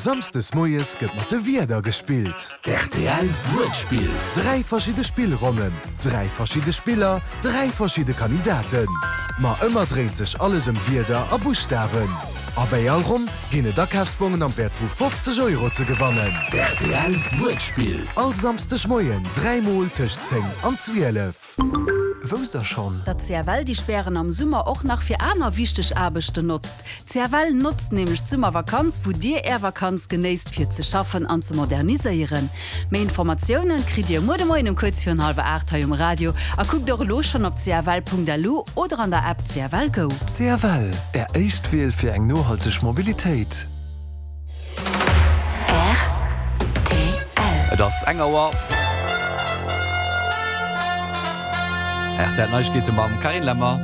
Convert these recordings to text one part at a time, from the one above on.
Samsdes moies gëtt mat de Wierder gespillt. Rtl Wuertspill. 3 verschidde Spillronnen, 3 verschidde Spiller, 3 verschidde Kandidaten. Ma ëmmer dréint sech alles ëm Wierder a Buschtawen. A bäi all Ronn ginn et Akafsbongen am Wäert vu 50 Euro ze gewannen. Rtl Wuertspill. All Samsdeg Moien 3 mol tëscht 10 an 12. Wousst der schonn? Datt CFL déi Spären am Summer och nach fir aner wichteg Aarbechten notzt. CFL notzt nämlech d'Summervakanz, wou dir är Vakanz genéisst fir ze schaffen an ze moderniséieren. Méi Informatiounen kritt dir muer de Moien um kuerz virun hallwer 8 hei um Radio a kuckt och elo schonn op cfl.lu oder an der App CFL Go. CFL, Är éischt Wiel fir eng nohalteg Mobilitéit. Rtl. Et ass eng Auer. Rtl Neiegkeete mam Carine Lemmer.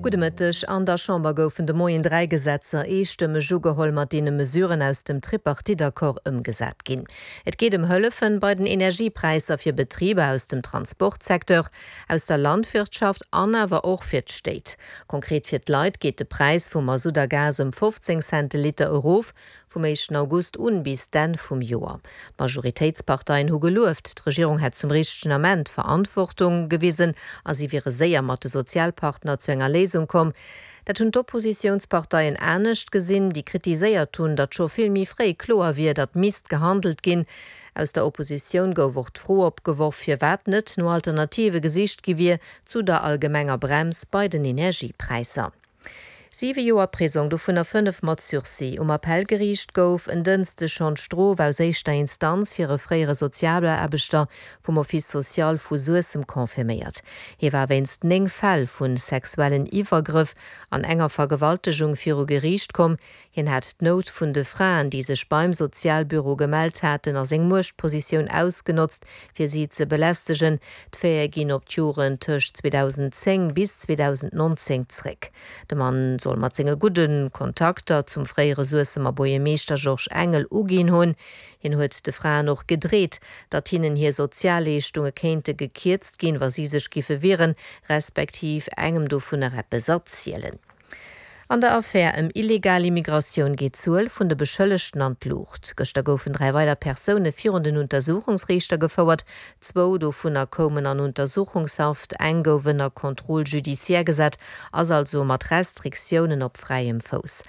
Gudde Mëtteg. An der Chamber goufen de Moien 3 Gesetzer eestëmmeg ugeholl, mat deene Mesuren aus dem Tripartite-Accord ëmgesat ginn. Et geet ëm Hëllefen bei den Energiepräisser fir Betriber aus dem Transportsecteur, aus der Landwirtschaft an awer och fir d'Stéit. Konkret fir d'Leit geet de Präis vu Masutt a Gas ëm 15 Cent de Liter erof, vum éischten August un bis d'Enn vum Joer. D'Majoritéitsparteien hu gelueft, d'Regierung hätt zum richtegen Ament Verantwortung gewisen a si wiere séier mat de Sozialpartner zu enger Léisung komm. Dat hunn d'Oppositiounsparteien anescht gesinn, déi kritiséiert hunn, datt scho vill méi fréi kloer wier, datt misst gehandelt ginn. Aus der Oppositioun gouf och d'Fro opgeworf, firwat net no Alternative gesicht gi wier zu der allgemenger Brems bei den Energiepräisser. Siwe Joer Prisong, dovunner 5 mat Sursis. Um Appellgeriicht gouf en Dënschdeg schonn d'Strof aus éischter Instanz fir e fréiere Sozialaarbechter vum Office social vu Suessem confirméiert. Hie war wéinst 9 Fäll vu sexuellen Iwwergrëff an enger Vergewaltegung viru Geriicht komm. Hien hätt d'Nout vun de Fraen, déi sech beim Sozialbüro gemellt haten, a seng Muechtpositioun ausgenotzt, fir si ze belästegen. D'Faite ginn op d'Joren tëscht 2010 bis 2019 zréck. De Mann soll mat senge gudde Kontakter zum fréiere Suessemer Buergermeeschter Georges Engel uginn hunn. Hien huet de Fraen och gedreet, datt hinnen hir Sozialleeschtunge kéinte gekierzt ginn, wa si sech giffe wieren, respektiv engem dovunner eppes erzielen. An der Affär ëm illegal Immigratioun geet d'Zuel vun de Beschëllegten an d'Luucht. Gëschter goufen 3 weider Persoune virun den Untersuchungsriichter gefouert. Zwou dovunner koumen an Untersuchungshaft, eng gouf ënner Contrôle judiciaire gesat, ass also mat Restriktiounen op fräiem Fouss.